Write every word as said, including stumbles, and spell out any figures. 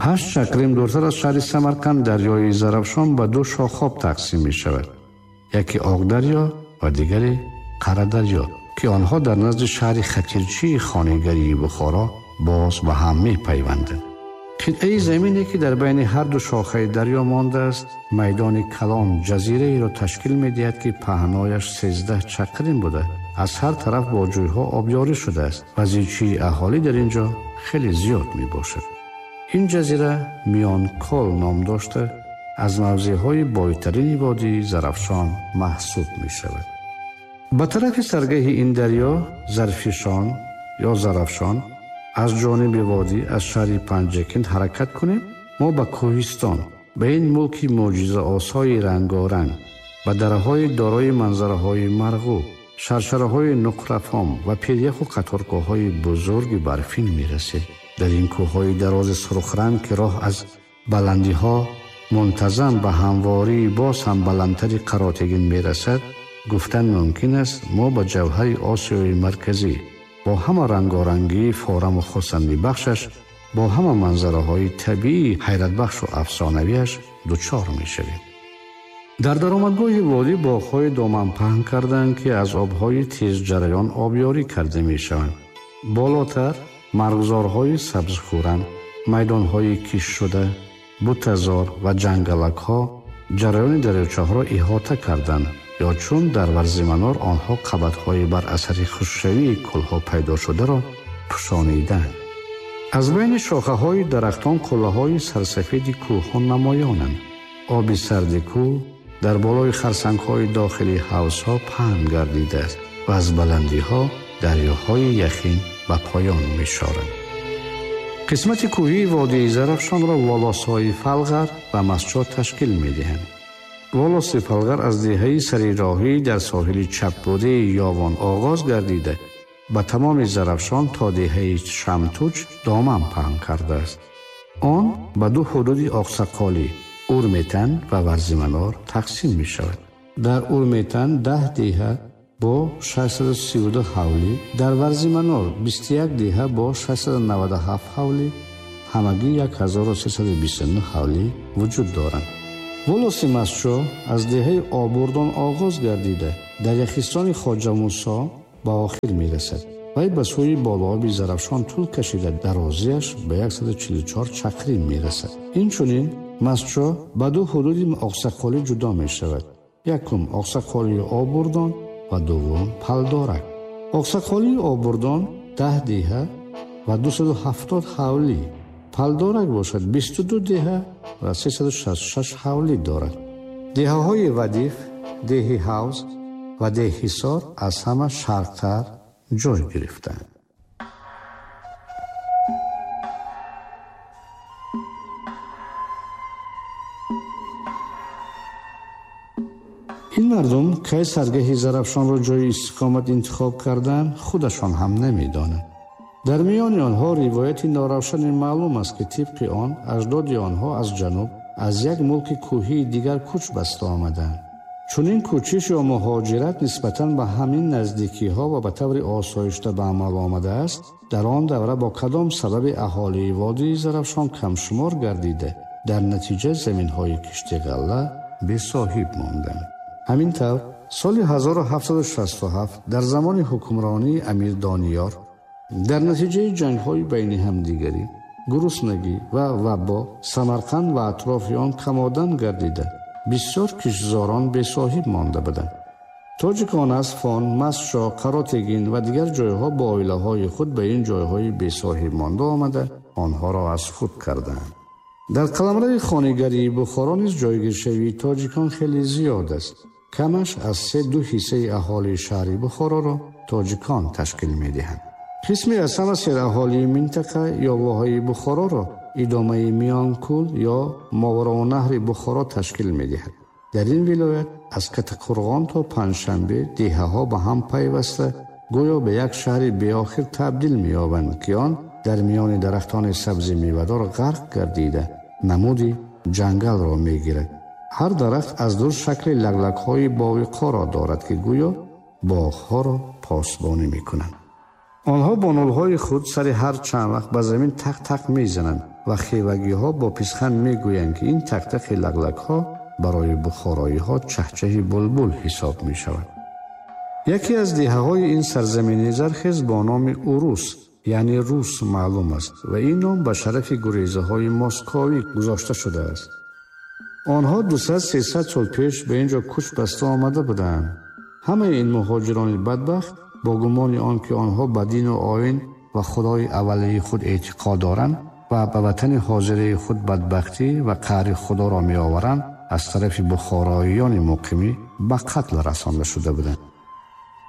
Ҳашт чақрим дуртар аз шаҳри Самарқанд дарёи Зарафшон ба ду шохоб тақсим мешавад. Яке Оғдарё ва дигаре Қарадарё, ки онҳо дар назди шаҳри Хатирчии хонигарии Бухоро боз ба ҳам мепайванданд. Қитъаи замине, ки дар байни ҳар ду шохаи дарё мондааст, майдони калон ҷазираеро ташкил медиҳад, ки паҳнояш сездаҳ чақрим буда, аз ҳар тараф бо ҷӯйҳо обёрӣ шудааст ва зичии аҳолӣ дар ин ҷо хеле зиёд мебошад. Ин ҷазира Миёнкол ном дошта, аз мавзеъҳои бойтарини водии Зарафшон маҳсуб мешавад. Ба тарафи саргаҳи ин дарё Зарфишон ё Зарафшон аз ҷониби водӣ аз шаҳри Панҷакент ҳаракат кунем, мо ба кӯҳистон, ба ин мулки мӯъҷизаосои рангоранг, ба дараҳои дорои манзараҳои марғуб, шаршараҳои нуқрафом ва пиряху қаторкӯҳҳои бузурги барфин мерасем. Дар ин кӯҳҳои дарози сурхранг, ки роҳ аз баландиҳо мунтазам ба ҳамвории боз ҳам баландтари Қаротегин мерасад, гуфтан мумкин аст мо ба ҷавҳари Осиёи Марказӣ бо ҳама рангорангии фораму хурсандибахшаш, бо ҳама манзараҳои табиии ҳайратбахшу афсонавиаш дучор мешавем. Дар даромадгоҳи водӣ боғҳои доман паҳн карданд, ки аз обҳои тезҷараён обёрӣ карда мешаванд. Болотар марғзорҳои сабзхӯранд, майдонҳои киштшуда, бутазор ва ҷангалакҳо ҷараёни дарёчаҳоро иҳота карданд, ё чун дар Варзиманор онҳо қабатҳои бар асари хушкшавии кӯлҳо пайдо шударо пӯшониданд. Аз байни шохаҳои дарахтон қуллаҳои сарсафеди кӯҳҳо намоёнанд. Оби сарди кӯл дар болои харсангҳои дохили ҳавзҳо паҳн гардидааст ва аз баландиҳо дарёҳои яхин ба поён мешоранд. Қисмати кӯҳии водии Зарафшонро волосҳои Фалғар ва Масчо ташкил медиҳанд. Волоси Фалғар аз деҳаи сарироҳӣ дар соҳили чапбудаи Ёвон оғоз гардида, ба тамоми Зарафшон то деҳаи Шамтуч доман паҳн кардааст. Он ба ду ҳудуди Оқсақолӣ, Урметан ва Варзиманор тақсим мешавад. Дар Урметан даҳ деҳа бо шашсаду сию ду ҳавлӣ, дар Варзиманор бисту як деҳа бо шашсаду наваду ҳафт ҳавлӣ, ҳамагӣ як ҳазору сесаду бисту нӯҳ ҳавлӣ вуҷуд доранд. Волоси Масчо аз деҳаи Обурдон оғоз гардида, дар яхистони Хоҷа Мусо ба охир мерасад. Вай ба сӯи болооби Зарафшон тӯл кашида, дарозиаш ба яксаду чилу чор чақрим мерасад. Инчунин Масчо ба ду ҳудуди Оқсақолӣ ҷудо мешавад. Якум Оқсақолии Обурдон ва дуввум Палдорак. Оқсақолии Обурдон даҳ деҳа ва дусаду ҳафтод ҳавлӣ, Палдорак бошад бисту ду деҳа ва сесаду шасту шаш ҳавлӣ дорад. Деҳаҳои Вадиф, деҳи Ҳавз ва деҳи Ҳисор аз ҳама шарқтар ҷой гирифтаанд. Ин мардум кай саргаҳи Зарафшонро ҷои истиқомат интихоб карданд, худашон ҳам намедонанд. Дар миёни онҳо ривояти норавшане маълум аст, ки тибқи он аҷдоди онҳо аз ҷануб аз як мулки кӯҳии дигар кӯч баста омаданд. Чунин кӯчиш ё муҳоҷират нисбатан ба ҳамин наздикиҳо ва ба таври осоишта ба амал омадааст. Дар он давра бо кадом сабаби аҳолии водии Зарафшон камшумор гардида, дар натиҷа заминҳои кишти ғалла бесоҳиб монданд. Ҳамин тавр соли ҳазору ҳафтсаду шасту ҳафт дар замони ҳукмронии Амир Дониёр дар натиҷаи ҷангҳои байни ҳамдигарӣ, гуруснагӣ ва вабо Самарқанд ва атрофи он камодан гардида, бисёр киштзорон бесоҳиб монда буданд. Тоҷикон аз Фон, Масчо, Қаротегин ва дигар ҷойҳо бо оилаҳои худ ба ин ҷойҳои бесоҳиб монда омада, онҳоро аз худ карданд. Дар қаламрави хонигарии Бухоро низ ҷойгиршавии тоҷикон хеле зиёд аст. Камаш аз се ду ҳиссаи аҳолии шаҳри Бухороро тоҷикон ташкил медиҳанд. Қисме аз ҳама сераҳолии минтақа ё воҳаи Бухороро идомаи Миёнкӯл ё Мовароуннаҳри Бухоро ташкил медиҳад. Дар ин вилоят аз Катақурғон то Панҷшанбе деҳаҳо ба ҳам пайваста гӯё ба як шаҳри беохир табдил меёбанд, ки он дар миёни дарахтони сабзи мевадор ғарқ гардида намуди ҷангалро мегирад. Ҳар дарахт аз дур шакли лаглакҳои бовиқоро дорад, ки гӯё боғҳоро посбонӣ мекунанд. Онҳо бо нӯлҳои худ сари ҳар чанд вақт ба замин тақ-тақ мезананд ва хевагиҳо бо писханд мегӯянд, ки ин тақтақи лаглакҳо барои бухороиҳо чаҳчаҳи булбул ҳисоб мешавад. Яке аз деҳаҳои ин сарзамини зархез бо номи Урус, яъне Рус, маълум аст ва ин ном ба шарафи гурезаҳои московӣ гузошта шудааст. Онҳо дусад-сесад сол пеш ба инҷо кӯч баста омада буданд. Ҳамаи ин муҳоҷирони бадбахт бо гумони он ки онҳо ба дину оин ва худои аввалии худ эътиқод доранд ва ба ватани ҳозираи худ бадбахтӣ ва қаҳри худоро меоваранд, аз тарафи бухороиёни муқимӣ ба қатл расонда шуда буданд.